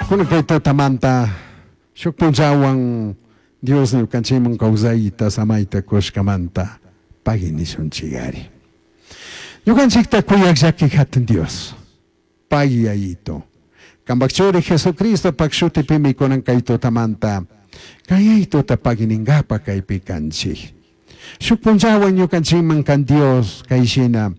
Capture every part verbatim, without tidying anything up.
Kunan kay tutamanta shuk punllawan Dios ñukanchikman kawsayta samayta kushkamanta pagui nishunchikari. Ñukanchikta kuyaq llaki hatun Dios, pagui Yayito. Kanpak churi Jesucristopak shutipimi kunan kay tutamanta kay Yayituta pagui ninkapak kaypi kanchik. Shuk punllawan ñukanchikman kan Dios kayshina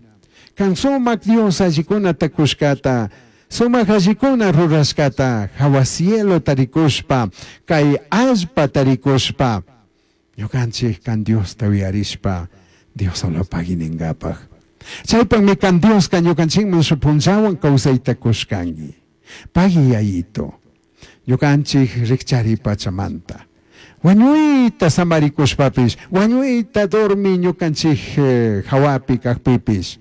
kan sumak Dios allikunata kushkata sumak allikuna rurashkata hawa cielo tarikushpa kay allpa tarikushpa ñukanchik kan Diosta uyarishpa Dios solo pagui ninkapak. Chaypakmi kan Dioska ñukanchikman shuk punllawan kawsayta kushkanki. Pagui Yayito, ñukanchik rikchari pachamanta. Wañuyta samarikushpapish, wañuyta dormi ñukanchik eh, hawapi kakpipish.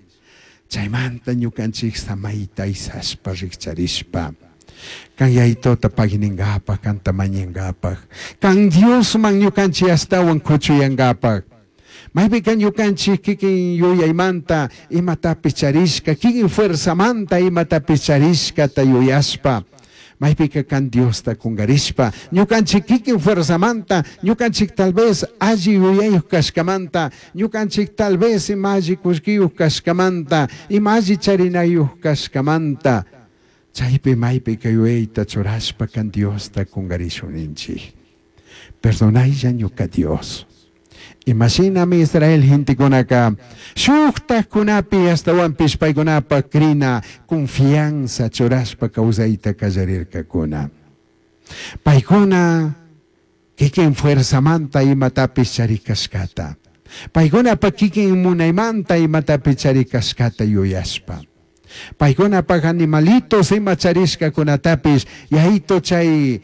Chaymanta ñukanchik samayta isashpa rikcharishpa. Kan Yayitota pagui ninkapak, kanta mañankapak. Kan Diosman ñukanchik ashtawan kuchuyankapak. Maypika ñukanchik kikin yuyaymanta imatapish charishka, kikin fuerzamanta imatapish charishkata yuyashpa. Maypika kan Diosta kungarishpa, ñukanchik kikin fuerzamanta, ñukanchik tal vez alli yuyayuq kashkamanta, ñukanchik tal vez ima alli kullkiyuq kashkamanta, ima alli charinayuq kashkamanta, chaypi maypika yuyayta churashpa kan Diosta kungarishun ninchik. Perdonaylla ñuka Dios. Imashinami Israel gentekunaka shuktajkunapi ashtawanpish paykunapak crina confianza churashpa kawsayta kallarirkakuna. Paykuna kikin fuerzamanta imatapish charikashkata. Paykunapak kikin munaymanta imatapish charikashkata yuyashpa. Paykunapak animalitos ima charishkakunatapish Yayito chay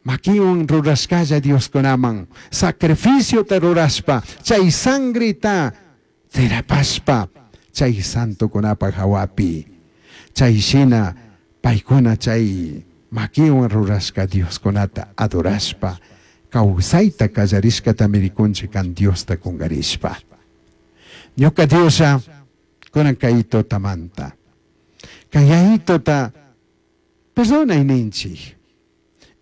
makiwan rurashkalla Dioskunaman sacrificiota rurashpa chay sangreta tirapashpa chay santokunapak hawapi chay shina paykuna chay makiwan rurashka Dioskunata adorashpa kawsayta kallarishkatami rikunchik kan Diosta kungarishpa. Ñuka Dioslla kunan kay tutamanta kan Yayitota perdonay ninchik.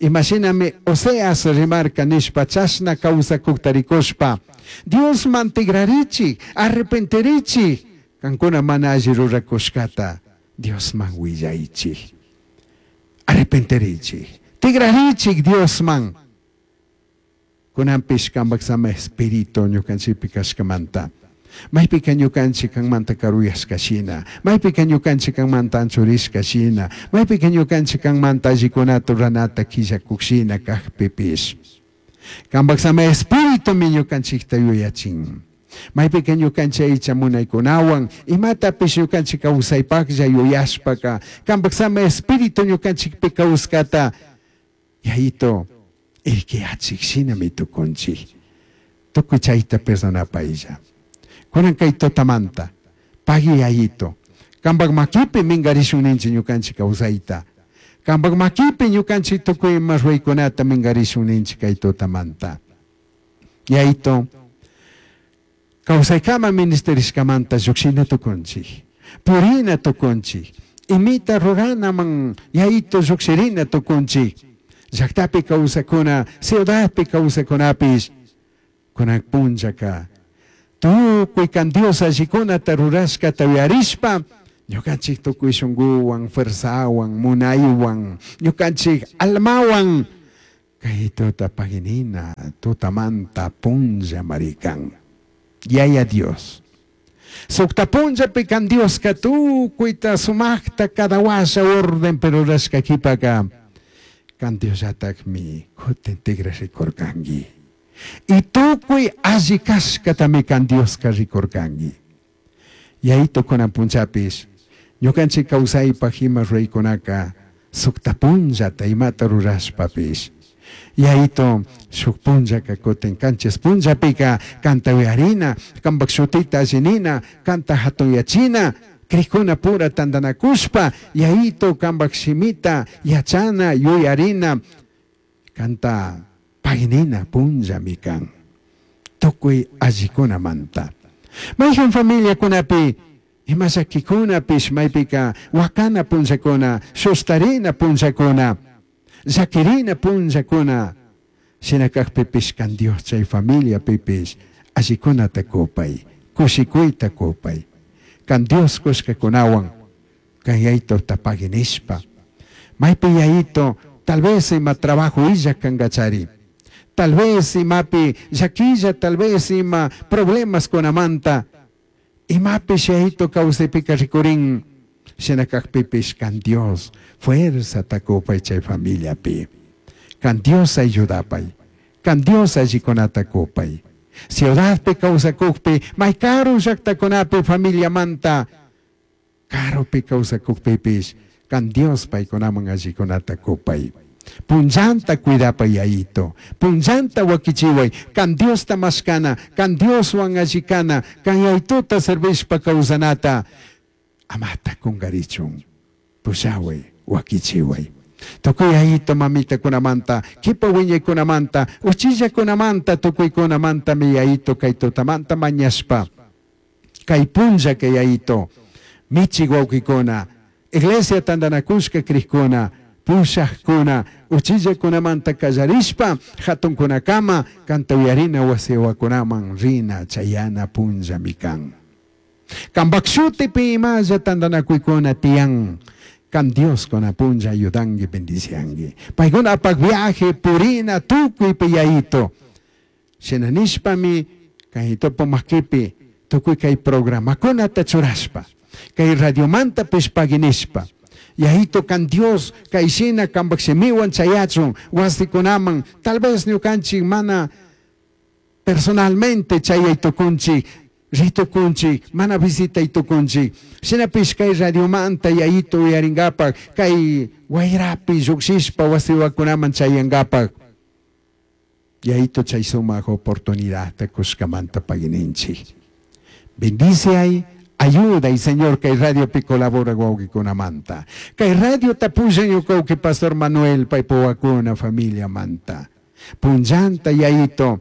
Imashinami Oseas rimarka nishpa chashna kawsakukta rikushpa Diosman tigrarichik, arrepentirichik, kankuna mana alli rurakushkata Diosman willaychik. Arrepentirichik, tigrarichik Diosman. Kunanpish kanpak sama espíritu ñukanchikpi kashkamanta. Maypika ñukanchik kanmanta karuyashka shina, maypika ñukanchik kanmanta anchurishka shina, maypika ñukanchik kanmanta allikunata ruranata killakuk shina kakpipish. Kanpak sama espíritumi ñukanchikta yuyachin. Maypika ñukanchik aycha munaykunawan imatapish ñukanchik kawsaypaklla yuyashpaka kanpak sama espíritu ñukanchikpi kawskata Yayito irkiyachik shinami tukunchik. Tukuy chayta perdonapaylla. Kunan kay tutamanta pagui Yayito. Kanpak makipi mingarishun ninchik ñukanchik kawsayta. Kanpak makipi ñukanchik tukuy ima ruraykunata mingarishun ninchik kay tutamanta. Yayito, kawsaykama ministerishkamanta llukshina tukunchik. Purina tukunchik. Imita ruranaman Yayito llukshirina tukunchik. Llaktapi kawsakuna, ciudadpi kawsakunapish kunan punllaka tukuy kan Dios allikunata rurashkata uyarishpa ñukanchik tukuy shunkuwan, fuerzawan, munaywan, ñukanchik almawan kay tuta paginina, tutamanta punlla marikan. Yaya Dios. Sukta punllapi kan Dioska tukuyta sumakta cada washa orden pero rurashka kipaka kan Diosllatakmi kutin tigra rikurkanki. Y tukuy alli kashkatami kan Dioska rikurkanki. Yayito kunan punchapis ñukanchik kawsaypak ima ruraykunaka sukta punllata imata rurashpapish. Yayito shuk punllaka kutin kanchis punllapika kanta uyarina, kanpak shutita allinina, kanta hatunyachina, krikuna pura tantanakushpa, Yayito kanpak shimita yachana, yuyarina, kanta paginina punllami kan. Tukuy allikunamanta. Mayhan familiakunapi ima llakikunapish maypika wakana punllakuna, shustarina punllakuna. Llakirina punllakuna shina kakpipish kan Dios chay familiapipish allikunata kupay, kushikuyta kupay. Kan Dios kushkakunawan kan yayito pagui nishpa. Maypi yayito tal vez ima trabajo illa kankachari. Tal vez imapi llaquilla, tal vez ima problemas kunamanta. Imapish yayito kawsaypika rikurin shina kakpipish kan Dios fuerza kupay chay familiapi. Kan Dios ayudapay. Kan Dios allikunata kupay. Ciudadpi kawsakukpi may karu llaktakunapi familiamanta karupi kawsakukpipish kan Dios paykunaman allikunata kupay. Punllanta cuidapay yayito, punllanta wakichiway, kan Diosta mashkana, kan Dioswan allikana, kan yayituta servishpa kawsanata, amata kunkarichun, pushaway, wakichiway. Tukuy yayito mamitakunamanta, kipa wiñaykunamanta, uchillakunamanta, tukuykunamantami yayito kay tutamanta mañashpa, kay punlla kay yayito, michik wawkikuna, iglesia tantanakushka krikuna, pushakuna, uchillakunamanta kallarishpa, hatunkunakama, kanta uyarina wasiwakunaman rina chayana punllami kan. Kanpak shutipi imalla tantanakuykuna tiyan, kan Dios kuna punlla ayudanki, bendicianki. Paykuna apak viaje, purina, tukuypi yayito. Shina nishpami, kay topo makipi, tukuy kay programakunata churashpa, kay radiomanta pagui nishpa. Yayito kan Dios kay shina kanpak shimiwan chayachun wasikunaman, tal vez ñukanchik mana personalmente chayay tukunchik, ritukunchik, mana visitay tukunchik. Shinapish kay radiomanta yayito uyaringapak, kay wayrapi llukshishpa wasiwakunaman chayangapak. Yayito chay sumak oportunidadta kushkamanta paguininchik. Bendice ay, ayuda y Señor kay radiopi colabora wawqikunamanta. Kay radio tapullan ñuka Pastor Manuel paypawakuna familia manta. Punllanta yayito,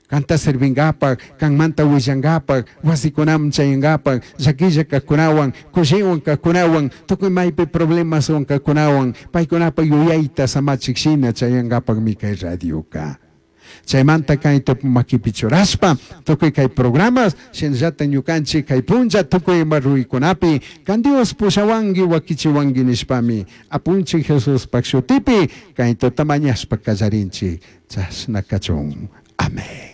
kanta servingapak, kanmanta willangapak, wasikunaman chayangapak, llakilla kajkunawan, kushiwan kajkunawan, tukuy maypi problemaswan kajkunawan, paykunapa yuyayta samachik shina chayangapakmi kay radioka. Chaymanta kay tupu makipi churashpa, tukuy kay programas, shinallata ñukanchik kay punlla tukuy ima ruraykunapi, kan Dios pushawanki wakichiwanki nishpami, apunchik Jesuspak shutipi, kay tuta mañashpa kallarinchik, chashna kachun. Amén.